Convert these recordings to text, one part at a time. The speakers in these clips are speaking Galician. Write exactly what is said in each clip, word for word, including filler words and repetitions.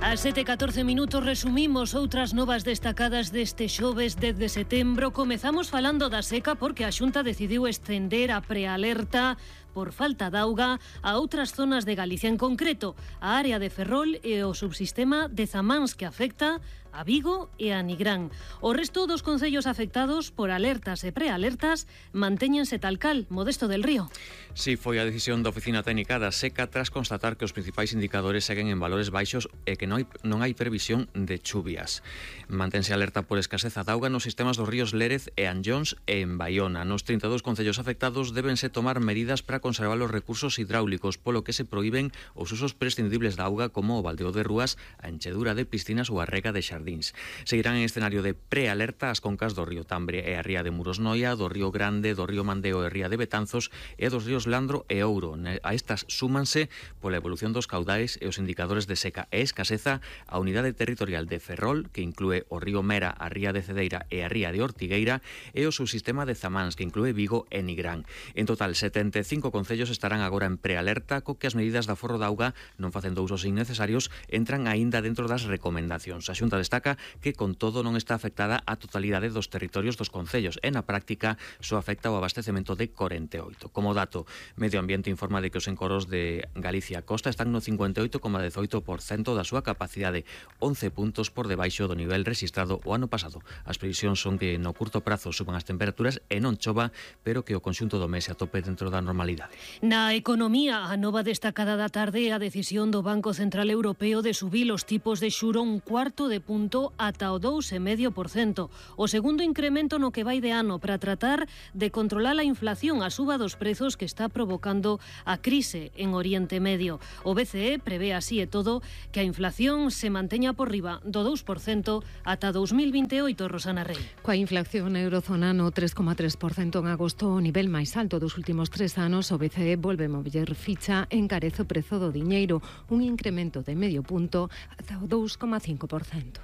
A sete e catorce minutos resumimos outras novas destacadas deste xoves dez de setembro. Comezamos falando da seca porque a Xunta decidiu estender a prealerta por falta de auga a outras zonas de Galicia, en concreto a área de Ferrol e o subsistema de Zamáns, que afecta a Vigo e a Nigrán. O resto dos concellos afectados por alertas e prealertas mantéñense tal cal. Modesto del Río. Si, foi a decisión da Oficina Técnica da Seca tras constatar que os principais indicadores seguen en valores baixos e que non hai, non hai previsión de chuvias. Mantense alerta por escaseza de auga nos sistemas dos ríos Lérez e Anllóns e en Baiona. Nos trinta e dous concellos afectados débense tomar medidas para conservar os recursos hidráulicos, polo que se proíben os usos prescindibles da auga como o baldeo de rúas, a enchedura de piscinas ou a rega de xardíns. Seguirán en escenario de prealerta as concas do río Tambre e a ría de Muros Noia, do río Grande, do río Mandeo e ría de Betanzos e dos ríos Landro e Ouro. A estas súmanse pola evolución dos caudais e os indicadores de seca e escaseza a unidade territorial de Ferrol, que inclúe o río Mera, a ría de Cedeira e a ría de Ortigueira, e o subsistema de Zamáns, que inclúe Vigo e Nigrán. En total, setenta e cinco concellos estarán agora en prealerta, co que as medidas de aforro de auga, non facendo usos innecesarios, entran aínda dentro das recomendacións. A Xunta destaca que, con todo, non está afectada a totalidade dos territorios dos concellos e, na práctica, só afecta o abastecemento de corenta e oito. Como dato, Medio Ambiente informa de que os encoros de Galicia Costa están no cincuenta e oito coma dezoito por cento da súa capacidade, once puntos por debaixo do nivel rexistrado o ano pasado. As previsións son que no curto prazo suban as temperaturas e non chova, pero que o conxunto do mes se atope dentro da normalidade. Na economía, a nova destacada da tarde é a decisión do Banco Central Europeo de subir os tipos de xuro un cuarto de punto ata o dous coma cinco por cento. O segundo incremento no que vai de ano para tratar de controlar a inflación, a suba dos prezos que está provocando a crise en Oriente Medio. O B C E prevé así e todo que a inflación se manteña por riba do dous por cento ata dous mil vinte e oito, Rosana Rey. Coa inflación na eurozona no tres coma tres por cento en agosto, o nivel máis alto dos últimos tres anos, o B C E volve mover ficha, encarece o prezo do diñeiro, un incremento de medio punto ata o dous coma cinco por cento.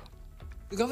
A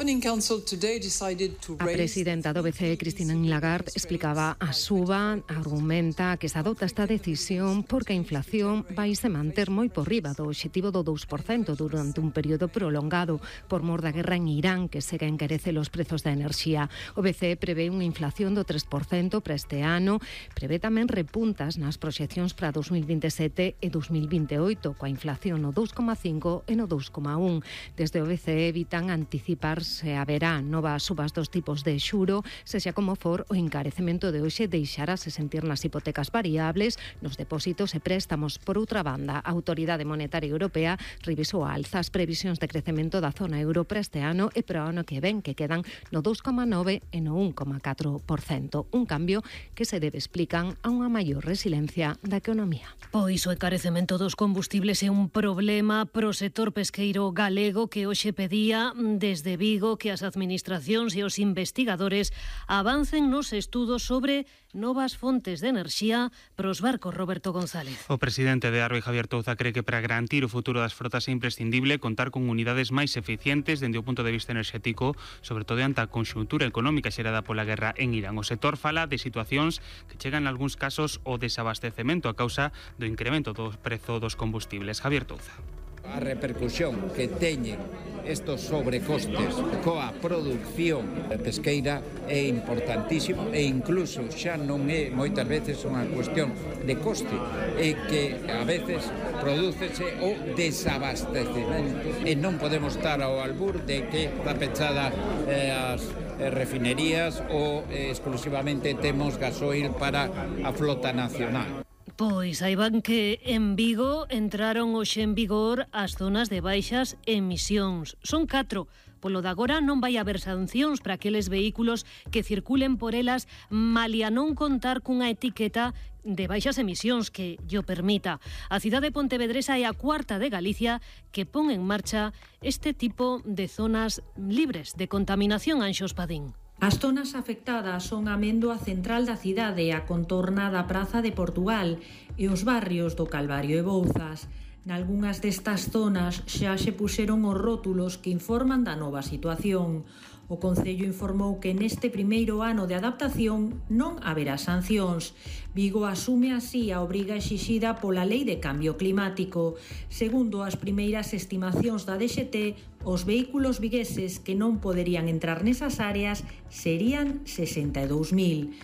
presidenta do B C E, Christine Lagarde, explicaba a suba, argumenta que se adopta esta decisión porque a inflación vai se manter moi por riba do obxectivo do dous por cento durante un período prolongado por mor da guerra en Irán, que segue a encarecer os prezos da enerxía. O B C E prevé unha inflación do tres por cento para este ano, prevé tamén repuntas nas proxeccións para dous mil vinte e sete e dous mil vinte e oito, coa inflación no dous coma cinco e no dous coma un. Desde o B C E evitan anticipar se haberá novas subas dos tipos de xuro, sexa como for, o encarecemento de hoxe deixarase sentir nas hipotecas variables, nos depósitos e préstamos. Por outra banda, a Autoridade Monetaria Europea revisou a alza as previsións de crecemento da zona euro para este ano e para o ano que ven, que quedan no dous coma nove e no un coma catro por cento. Un cambio que se debe, explican, a unha maior resiliencia da economía. Pois o encarecemento dos combustibles é un problema pro sector pesqueiro galego, que hoxe pedía desde Vigo que as administracións e os investigadores avancen nos estudos sobre novas fontes de enerxía pros barcos. Roberto González. O presidente de Arbe, Javier Touza, cree que para garantir o futuro das frotas é imprescindible contar con unidades máis eficientes dende o punto de vista enerxético, sobre todo ante a conxuntura económica xerada pola guerra en Irán. O sector fala de situacións que chegan en algúns casos ao desabastecemento a causa do incremento do prezo dos combustibles. Javier Touza. A repercusión que teñen estos sobrecostes coa produción pesqueira é importantísimo e incluso xa non é moitas veces unha cuestión de coste, é que a veces prodúcese o desabastecemento e non podemos estar ao albur de que está pechada eh, as refinerías ou eh, exclusivamente temos gasoil para a flota nacional. Pois aí van que en Vigo entraron hoxe en vigor as zonas de baixas emisións. Son catro. Polo de agora non vai haber sancións para aqueles vehículos que circulen por elas malia non contar cunha etiqueta de baixas emisións que llo permita. A cidade pontevedresa é a cuarta de Galicia que pon en marcha este tipo de zonas libres de contaminación. Anxo Espadín. As zonas afectadas son a Amendoa central da cidade, a contorna da Praza de Portugal e os barrios do Calvario e Bouzas. Nalgunhas destas zonas xa se puxeron os rótulos que informan da nova situación. O Concello informou que neste primeiro ano de adaptación non haberá sancións. Vigo asume así a obriga exixida pola Lei de Cambio Climático. Segundo as primeiras estimacións da D X T, os vehículos vigueses que non poderían entrar nesas áreas serían sesenta e dous mil.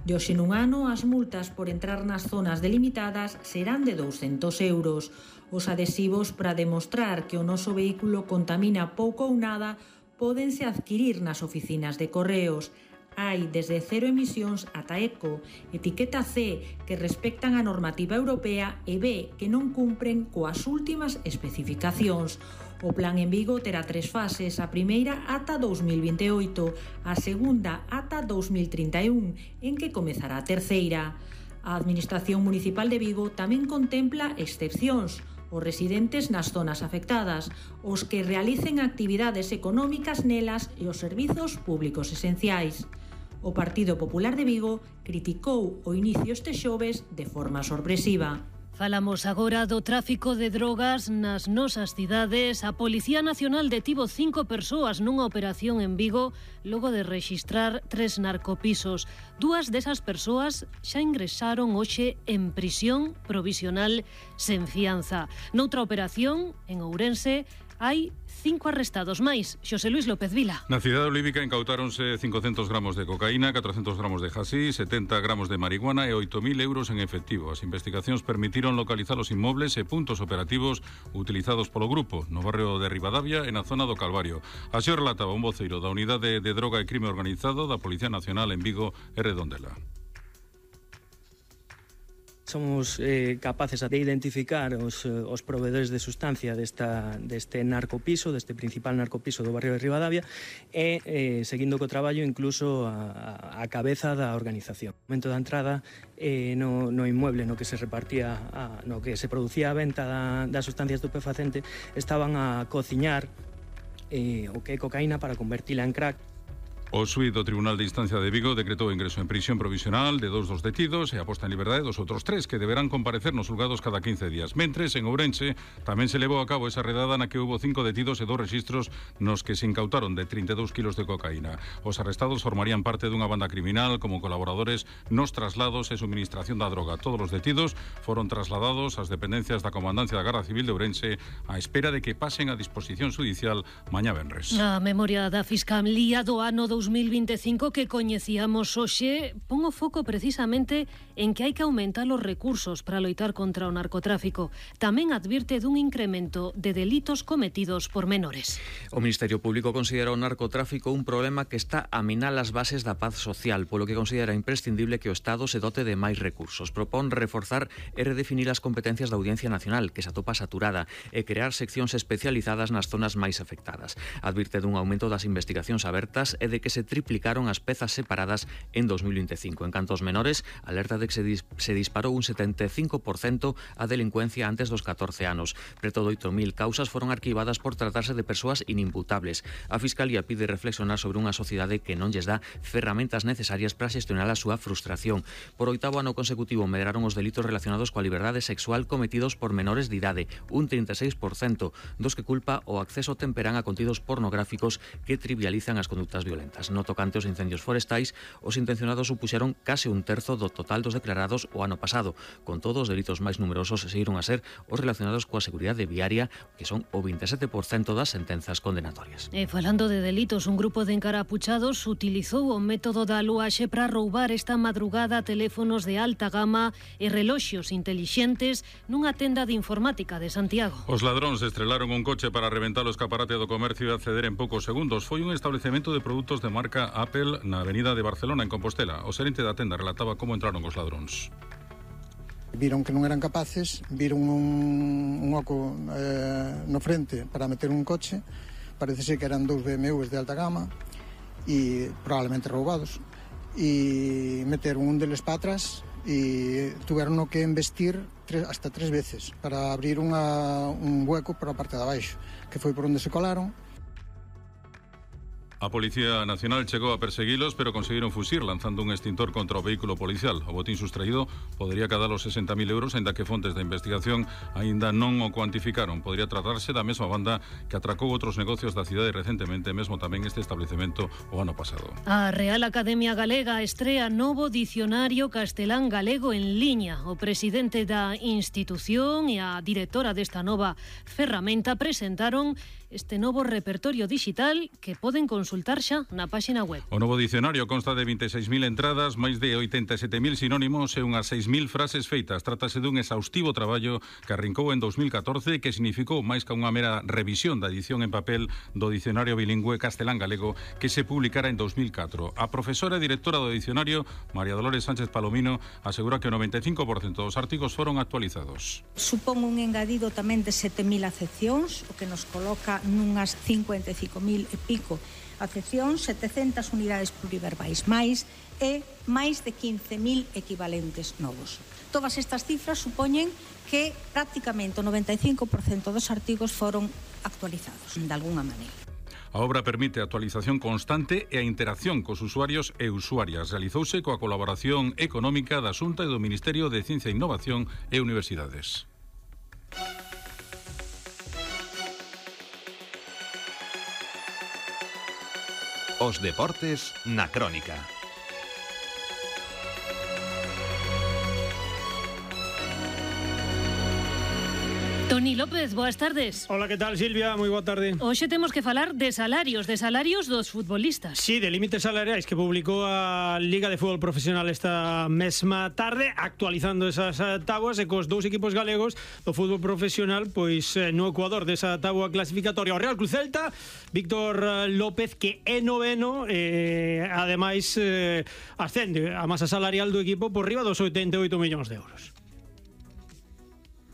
De hoxe nun ano, as multas por entrar nas zonas delimitadas serán de douscentos euros. Os adhesivos para demostrar que o noso vehículo contamina pouco ou nada pódense adquirir nas oficinas de correos. Hai desde cero emisións ata eco, etiqueta C, que respectan a normativa europea, e B, que non cumpren coas últimas especificacións. O plan en Vigo terá tres fases, a primeira ata dous mil vinte e oito, a segunda ata dous mil trinta e un, en que comezará a terceira. A Administración Municipal de Vigo tamén contempla excepcións, os residentes nas zonas afectadas, os que realicen actividades económicas nelas e os servizos públicos esenciais. O Partido Popular de Vigo criticou o inicio este xoves de forma sorpresiva. Falamos agora do tráfico de drogas nas nosas cidades. A Policía Nacional detivo cinco persoas nunha operación en Vigo logo de rexistrar tres narcopisos. Dúas desas persoas xa ingresaron hoxe en prisión provisional sen fianza. Noutra operación, en Ourense, hai cinco arrestados máis. Xosé Luis López Vila. Na cidade olívica incautáronse cincocentos gramos de cocaína, catrocentos gramos de hasí, setenta gramos de marihuana e oito mil euros en efectivo. As investigacións permitiron localizar os inmobles e puntos operativos utilizados polo grupo no barrio de Ribadavia e na zona do Calvario. Así o relataba un voceiro da Unidade de Droga e Crime Organizado da Policía Nacional en Vigo e Redondela. Somos eh, capaces de identificar os, os proveedores de sustancia desta, deste narcopiso, deste principal narcopiso do barrio de Ribadavia e, eh, seguindo co traballo, incluso a, a cabeza da organización. No momento da entrada eh, no, no inmueble no que se repartía, a, no que se producía a venta da, da sustancia estupefacente, estaban a cociñar eh, o que é cocaína para convertila en crack. O xuíz do Tribunal de Instancia de Vigo decretou ingreso en prisión provisional de dous dos detidos e a posta en liberdade dos outros tres que deberán comparecer nos xulgados cada quince días. Mentres, en Ourense, tamén se levou a cabo esa redada na que houbo cinco detidos e dos rexistros nos que se incautaron de trinta e dous kilos de cocaína. Os arrestados formarían parte dunha banda criminal como colaboradores nos traslados e suministración da droga. Todos os detidos foron trasladados ás dependencias da Comandancia da Garda Civil de Ourense á espera de que pasen a disposición judicial mañá venres. A memoria da Fiscalía do ano dous mil vinte e cinco que coñecíamos hoxe pon o foco precisamente en que hai que aumentar os recursos para loitar contra o narcotráfico. Tamén advirte dun incremento de delitos cometidos por menores. O Ministerio Público considera o narcotráfico un problema que está a minar as bases da paz social, polo que considera imprescindible que o Estado se dote de máis recursos. Propón reforzar e redefinir as competencias da Audiencia Nacional, que se atopa saturada, e crear seccións especializadas nas zonas máis afectadas. Advirte dun aumento das investigacións abertas e de que se triplicaron as pezas separadas en dos mil vinte e cinco. En canto aos menores, alerta de que se, dis se disparou un setenta e cinco por cento a delincuencia antes dos catorce anos. Preto de oito mil causas foron arquivadas por tratarse de persoas inimputables. A Fiscalía pide reflexionar sobre unha sociedade que non lles dá ferramentas necesarias para xestionar a súa frustración. Por oitavo ano consecutivo medraron os delitos relacionados coa liberdade sexual cometidos por menores de idade, un trinta e seis por cento dos que culpa o acceso temperán a contidos pornográficos que trivializan as conductas violentas. No tocante aos incendios forestais, os intencionados supuxeron case un terzo do total dos declarados o ano pasado. Con todo, os delitos máis numerosos seguiron a ser os relacionados coa seguridade viaria, que son o vinte e sete por cento das sentenzas condenatorias. E falando de delitos, un grupo de encarapuchados utilizou o método da aluaxe para roubar esta madrugada teléfonos de alta gama e reloxos intelixentes nunha tenda de informática de Santiago. Os ladróns estrelaron un coche para reventar o escaparate do comercio e acceder en poucos segundos. Foi un establecemento de produtos de marca Apple na avenida de Barcelona, en Compostela. O xerente da tenda relataba como entraron os ladróns. Viron que non eran capaces, viron un, un oco eh, no frente para meter un coche. Parece ser que eran dous B M Ws de alta gama e probablemente roubados, e meteron un deles para atrás e tuveron que investir tres, hasta tres veces para abrir unha, un hueco para a parte de abaixo, que foi por onde se colaron. A Policía Nacional chegou a perseguilos, pero conseguiron fuxir lanzando un extintor contra o vehículo policial. O botín sustraído podería cadar os sesenta mil euros, aínda que fontes da investigación aínda non o cuantificaron. Podría tratarse da mesma banda que atracou outros negocios da cidade recentemente, mesmo tamén este establecemento o ano pasado. A Real Academia Galega estrea novo dicionario castelán galego en liña. O presidente da institución e a directora desta nova ferramenta presentaron este novo repertorio digital que poden consultar xa na páxina web. O novo dicionario consta de vinte e seis mil entradas, máis de oitenta e sete mil sinónimos e unhas seis mil frases feitas. Trátase dun exhaustivo traballo que arrincou en dos mil catorce e que significou máis que unha mera revisión da edición en papel do dicionario bilingüe castelán-galego que se publicara en dos mil catro. A profesora e directora do dicionario, María Dolores Sánchez Palomino, asegura que o noventa e cinco por cento dos artigos foron actualizados. Supón un engadido tamén de sete mil acepcións, o que nos coloca nunhas cincuenta e cinco mil e pico acepcións, setecentas unidades pluriverbais máis e máis de quince mil equivalentes novos. Todas estas cifras supoñen que prácticamente o noventa e cinco por cento dos artigos foron actualizados de alguna maneira. A obra permite a actualización constante e a interacción cos usuarios e usuarias. Realizouse coa colaboración económica da Xunta e do Ministerio de Ciencia e Innovación e Universidades. Os deportes na Crónica. Toni López, boas tardes. Hola, que tal, Silvia? Moi boa tarde. Hoxe temos que falar de salarios, de salarios dos futbolistas. Sí, de límites salariais que publicou a Liga de Fútbol Profesional esta mesma tarde, actualizando esas tabuas e cos dous equipos galegos do fútbol profesional, pois no Ecuador desa tabua clasificatoria. O Real Cruz Celta, Víctor López, que é noveno, e ademais eh, ascende a masa salarial do equipo por riba dos oitenta e oito millóns de euros.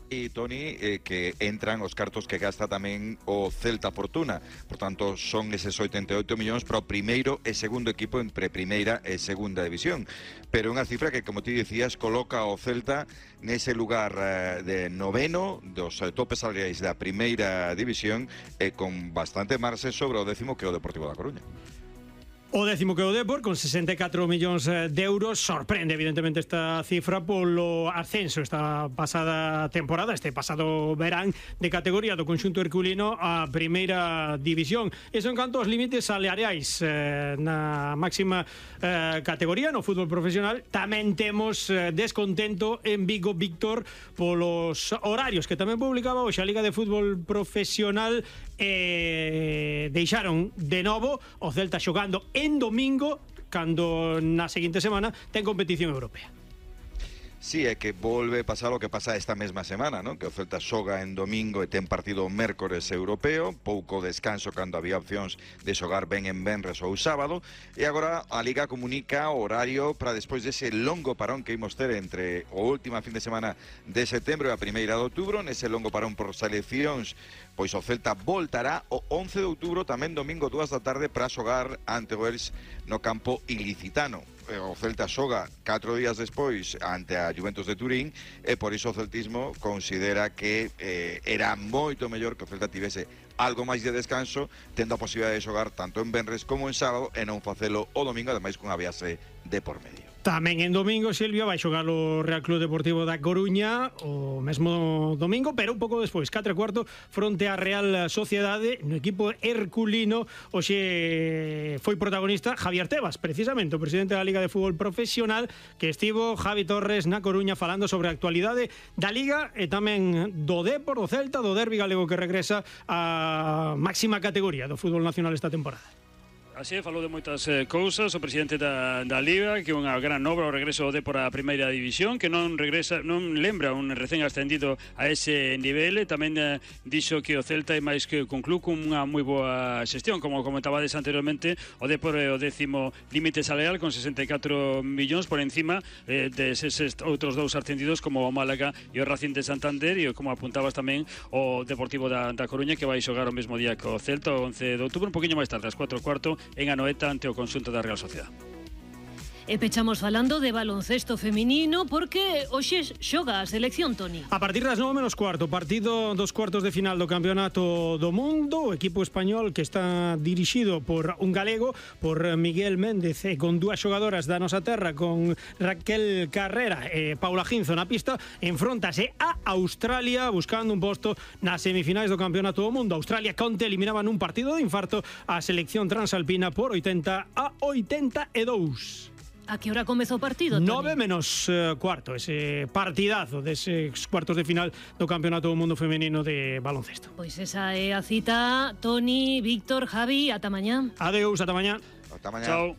E, Toni, eh, que entran os cartos que gasta tamén o Celta Fortuna. Por tanto, son eses oitenta e oito millóns para o primeiro e segundo equipo entre primeira e segunda división. Pero unha cifra que, como ti dicías, coloca o Celta nese lugar eh, de noveno dos eh, topes salariais da primeira división e eh, con bastante marxe sobre o décimo que é o Deportivo da Coruña. O décimo que o Depor, con sesenta e catro millóns de euros. Sorprende, evidentemente, esta cifra polo ascenso esta pasada temporada, este pasado verán, de categoría do conxunto herculino a primeira división. Eso en canto aos límites salariais eh, na máxima eh, categoría no fútbol profesional. Tamén temos eh, descontento en Vigo, Víctor, polos horarios que tamén publicaba hoxe a Liga de Fútbol Profesional. Eh, deixaron de novo o Celta xogando en domingo, cando na seguinte semana ten competición europea. Sí, é que volve pasar o que pasa esta mesma semana, non? Que o Celta xoga en domingo e ten partido mércores europeo, pouco descanso cando había opcións de xogar ben en venres ou sábado, e agora a Liga comunica o horario para despois dese longo parón que imos ter entre o última fin de semana de setembro e a primeira de outubro. Nese longo parón por seleccións, pois o Celta voltará o once de outubro, tamén domingo dúas da tarde, para xogar ante o Elx no campo ilicitano. O Celta xoga catro días despois ante a Juventus de Turín e por iso o celtismo considera que eh, era moito mellor que o Celta tivese algo máis de descanso, tendo a posibilidade de xogar tanto en venres como en sábado e non facelo o domingo, ademais cunha viaxe de por medio. Tamén en domingo, Silvia, vai xogar o Real Club Deportivo da Coruña o mesmo domingo, pero un pouco despois, catro e cuarto, fronte á Real Sociedade, no equipo herculino. Hoxe foi protagonista Javier Tebas, precisamente, o presidente da Liga de Fútbol Profesional, que estivo Javi Torres na Coruña falando sobre a actualidade da Liga e tamén do Depor, do Celta, do derbi galego que regresa á máxima categoría do fútbol nacional esta temporada. Así, falou de moitas eh, cousas o presidente da, da Liga, que é unha gran obra o regreso de por a primeira división, que non regresa, non lembra un recén ascendido a ese nivel. Tamén eh, dixo que o Celta é máis que un club con unha moi boa xestión, como comentabades anteriormente. O Depor é o décimo límite salarial con sesenta e catro millóns por encima eh, de eses outros dous ascendidos como o Málaga e o Racing de Santander, e como apuntabas tamén o Deportivo da, da Coruña, que vai xogar o mesmo día que o Celta, o once de outubro, un poquinho máis tarde, ás cuatro e cuarto, en Anoeta, ante o conxunto da Real Sociedade. E pechamos falando de baloncesto feminino porque hoxe xoga a selección, Toni. A partir das nove menos cuarto, partido dos cuartos de final do Campeonato do Mundo, o equipo español que está dirixido por un galego, por Miguel Méndez, e con dúas xogadoras da nosa terra, con Raquel Carrera e Paula Ginzo na pista, enfrontase a Australia buscando un posto nas semifinais do Campeonato do Mundo. Australia conte eliminaba nun partido de infarto a selección transalpina por oitenta a oitenta e dous. A que hora comezou o partido, Toni? nove menos cuarto, ese partidazo deses cuartos de final do Campeonato do Mundo Femenino de baloncesto. Pois esa é a cita, Toni, Víctor, Javi, ata mañá. Adeus, ata mañá. Ata mañá. Chao.